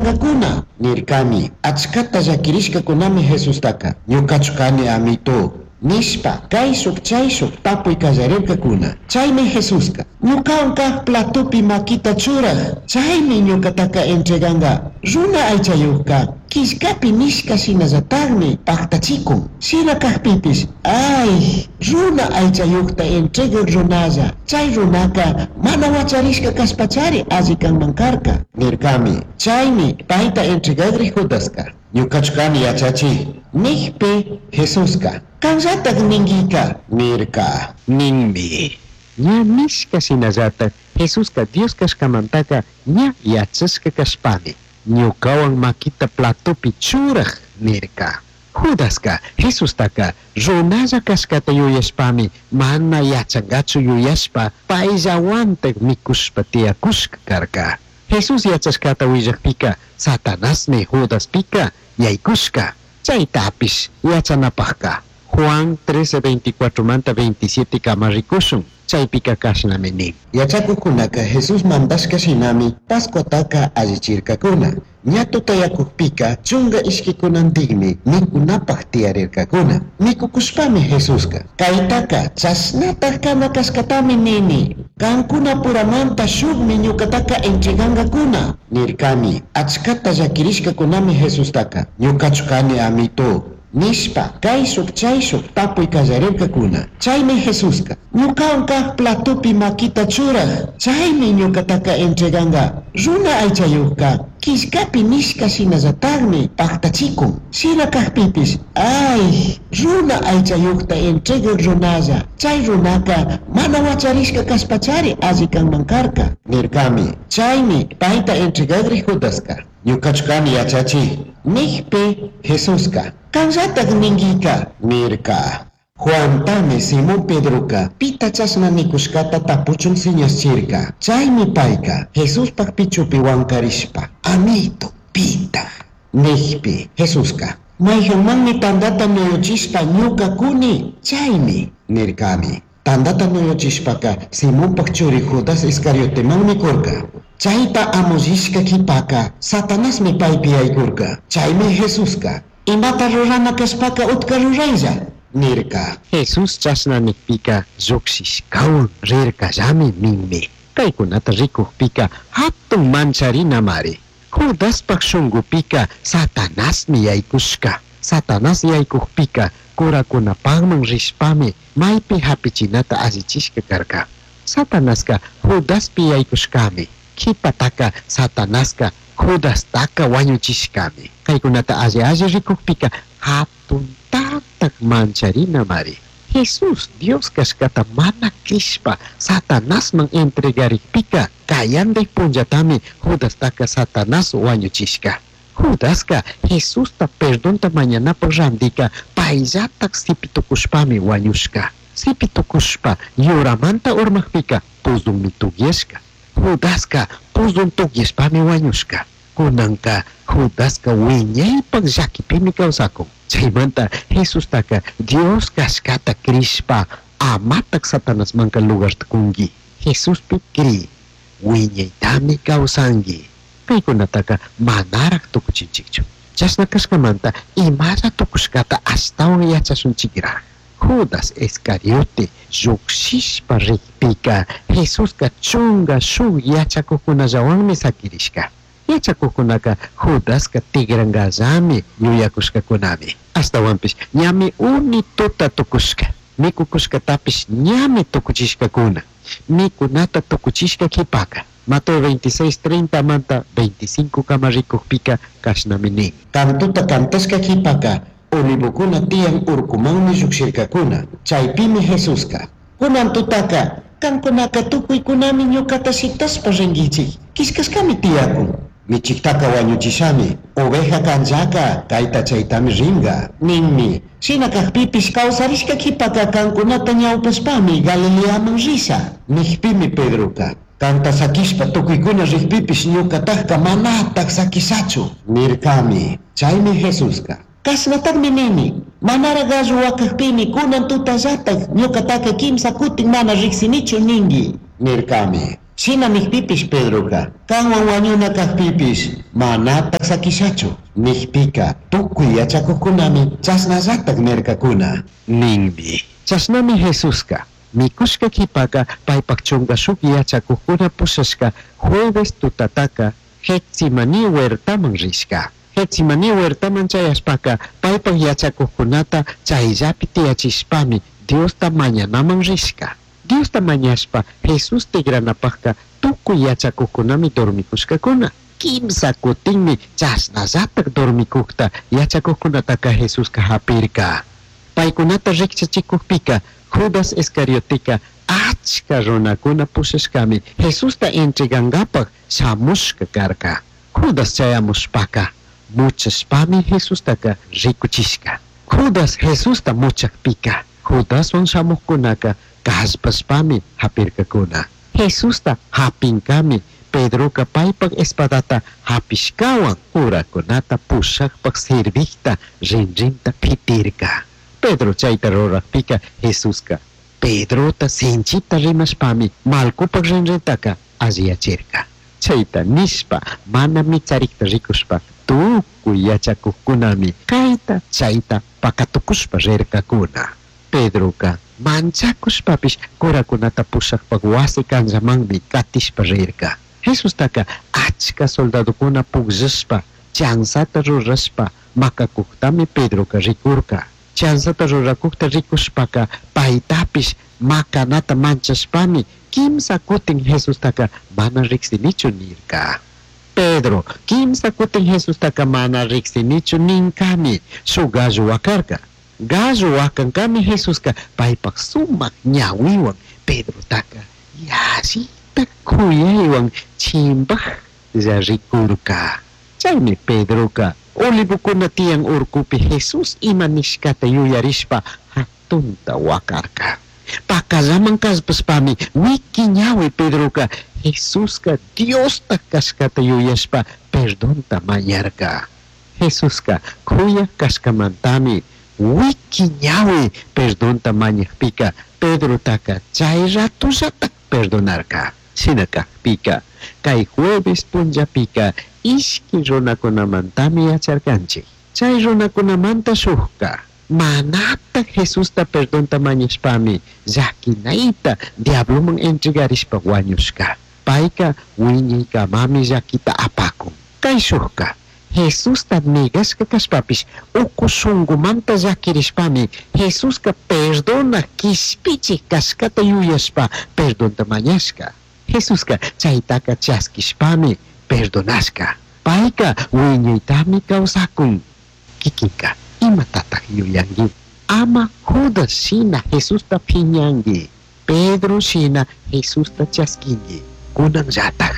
entregangacuna, nircami. Achcata llaquirishcacunami Jesustaca, Ñucachu cani, Amito? nishpa, caishuj chaishuj tapui callarircacuna. Chaimi Jesusca, Ñucahuan caj platopi maquita churaj, chaimi ñucataca entreganga. Runa Aichayujca, quillcapi nishca shinallatajmi pajtachicun. Shina cajpipish, aij, Runa Aichayujta entregaj runalla, chai runaca mana huacharishca cashpachari alli canman carca, nircami. Chaimi paita entregagrij Judasca, Ñucachu cani, Yachachij? nijpi, Jesusca, Canllataj ninguica, nirca. Ninmi. Ña nishca shinallataj Jesusca Dios cashcamantaca ña yachashca cashpami, Ñucahuan maquita platopi churaj, nirca. Judasca Jesustaca runalla cashcata yuyashpami mana yachangachu yuyashpa paillahuantaj micushpa tiyacushca carca. Jesús yachashcata huillajpica Satanasmi Judaspica yaicushca. Chaitapish yachanapajca Juan 13:24manta 27 cama ricushun. Chaipica cashnami nin. Yachacujcunaca Jesús mandashca shinami Pascuataca allichircacuna. Ña tutayacujpica chunga ishquicunandijmi micunapaj tiyarircacuna. Micucushpami Jesusca, Caitaca chashnataj cana cashcatami nini. Cancunapuramanta shujmi ñucataca entregangacuna, nircami. Achcata llaquirishcacunami Jesustaca, Ñucachu cani, Amito? nishpa, caishuj chaishuj tapui callarircacuna. Chaimi Jesusca, Ñucahuan caj platopi maquita churaj, chaimi ñucataca entreganga. Runa Aichayujca, quillcapi nishca shinallatajmi pajtachicun. Shina cajpipish, aij, Runa Aichayujta entregaj runalla, chai runaca mana huacharishca cashpachari alli canman carca, nircami. Chaimi paita entregagrij Judasca, Ñucachu cani, Yachachij? nijpi, Jesusca, Canllataj ninguica, nirca. Juantami Simón Pedroca pita chashna nicushcata tapuchun señaschirca. Chaimi paica Jesuspaj pichupi huancarishpa, Amito, pitaj? nijpi, Jesusca, Maijanmanmi tandata nuyuchishpa ñuca cuni, chaimi, nircami. Tandata nuyuchishpaca Simonpaj churi Judas Iscariotemanmi curca. Chaita amullishca quipaca Satanasmi paipi yaicurca. Chaimi Jesusca, Imata rurana cashpaca utca rurailla, nirca. Jesús chashna nijpica llujshishcahuan rircallami ninmi. Caicunata ricujpica jatun mancharinamari. Judaspaj shungupica Satanasmi yaicushca. Satanás yaicujpica curacunapajman rishpami maipi japichinata allichishca carca. Satanasca Judaspi yaicushcami. Q'uipataca Satanasca Judastaca huañuchishcami. Caicunata alli alli ricujpica jatuntataj mancharinamari. Jesús Dios cashcata mana crishpa Satanasman entregarijpica cayandij punllatami Judastaca Satanás huañuchishca. Judasca Jesusta perdonta mañanapaj randica paillataj sipi tucushpami huañushca. Sipi tucushpa yuramanta urmajpica puzunmi tugyashca. Judasca puzun tugyashpami huañushca. Cunanca Judasca huiñaipaj llaquipimi causacun. Chaimanta Jesustaca Dios cashcata crishpa amataj Satanasmanca lugarta cungui. Jesuspi cri, huiñaitami causangui. Caicunataca manaraj tucuchinchijchu. Chashna cashcamanta imalla tucushcata ashtahuan yachashunchijraj. Judas Iscariote llujshishpa rijpica Jesusca chunga shuj yachacujcunallahuanmi saquirishca. Yachacujcunaca Judasca tigrangallami yuyacushcacunami. Ashtahuanpish ñami uni tuta tucushca. Micucushcatapish ñami tucuchishcacuna. Micunata tucuchishca q'uipaca Mateo 26, 30manta 25 cama ricujpica cashnami nin. Cantota cantashca q'uipaca Olivocuna tiyan urcumanmi llujshircacuna. Chaipimi Jesusca, Cunan tutaca cancunaca tucuicunami ñucata shitashpa ringuichij. Quillcashcami tiyacun, Michijtaca huañuchishami, oveja canllaca caita chaitami ringa ninmi. Shina cajpipish causarishca q'uipaca cancunata ñaupashpami Galileaman risha, nijpimi Pedroca, Canta saquishpa tucuicuna rijpipish ñucatajca manataj saquishachu, nircami. Chaimi Jesusca, Cashnatajmi nini, manaraj gallo huacajpimi cunan tutallataj ñucataca quimsa cutin mana rijsinichu ningui, nircami. Shina nijpipish Pedroca, canhuan huañuna cajpipish manataj saquishachu. Nijpica tucui yachacujcunami chashnallataj nircacuna. Ninmi. Chashnami Jesusca micushca q'uipaca paipaj chunga shuj yachacujcuna pushashca jueves tutataca Getsemaní huertaman rishca. Getsemaní huertaman chayashpaca paipaj yachacujcunata chaillapi tiyachishpami Diosta mañanaman rishca. Diosta mañashpa Jesús tigranapajca tucui yachacujcunami dormicushcacuna. Quimsa cutinmi chashnallataj dormicujta yachacujcunataca Jesusca japirca. Paicunata rijchachicujpica Judas Iscarioteca achca runacuna pushashcami Jesusta entregangapaj shamushca carca. Judas chayamushpaca muchashpami Jesustaca ricuchishca. Judas Jesusta muchajpica Judaswan shamujcunaca callpashpami japircacuna. Jesusta japincami Pedroca paipaj espadata japishcahuan curacunata pushajpaj sirvijta rinrinta pitirca. Pedro chaita rurajpica Jesusca Pedrota sinchita rimashpami Malcopaj rinrintaca alliyachirca. Chaita nishpa mana mitsarijta ricushpa tucui yachacujcunami caita chaita pacatucushpa rircacuna. Pedroca manchacushpapish curacunata pushajpaj huasi canllamanmi catishpa rirca. Jesustaca achca soldadocuna pugllashpa chanzata rurashpa macacujtami Pedroca ricurca. Chanzata ruracujta ricushpaca paitapish macanata manchashpami quimsa cutin Jesustaca mana rijsinichu nirca. Pedro quimsa cutin Jesustaca mana rijsinichu nincami shuj gallo huacarca. Gallo huacancami Jesusca paipaj sumac ñahuihuan Pedrotaca yallita cuyaihuan chimbajlla ricurca. Chaymi Pedroca olivocuna tiyan urcupi Jesús ima nishcata yuyarishpa jatunta huacarca. Pacallaman callpashpami huiqui ñahui Pedroca Jesusca Diosta cashcata yuyashpa perdonta mañarca. Jesusca cuyaj cashcamantami huiqui ñahui perdonta mañajpica Pedrotaca chay ratollataj perdonarca. Shina cajpica cay jueves punllapica ishqui runacunamantami yacharcanchik. Chay runacunamanta shujca manata Jesusta perdonta mañashpami llaquinaita diabloman entregarishpa huañushca. Paica wiñaykamami llaquita apacun. Cay shujca Jesusta negashca cashpapish ucu shungumanta llaquirishpami Jesusca perdona quishpichij cashcata yuyashpa perdonta mañashca. Jesusca chaitaca chasquishpami perdonashca. Paica wiñaytami kawsakun. Kikinka imatataj yuyanki? Ama Judas shina Jesusta phiñanki. Pedro shina Jesusta chasquinki. Kunanllataj.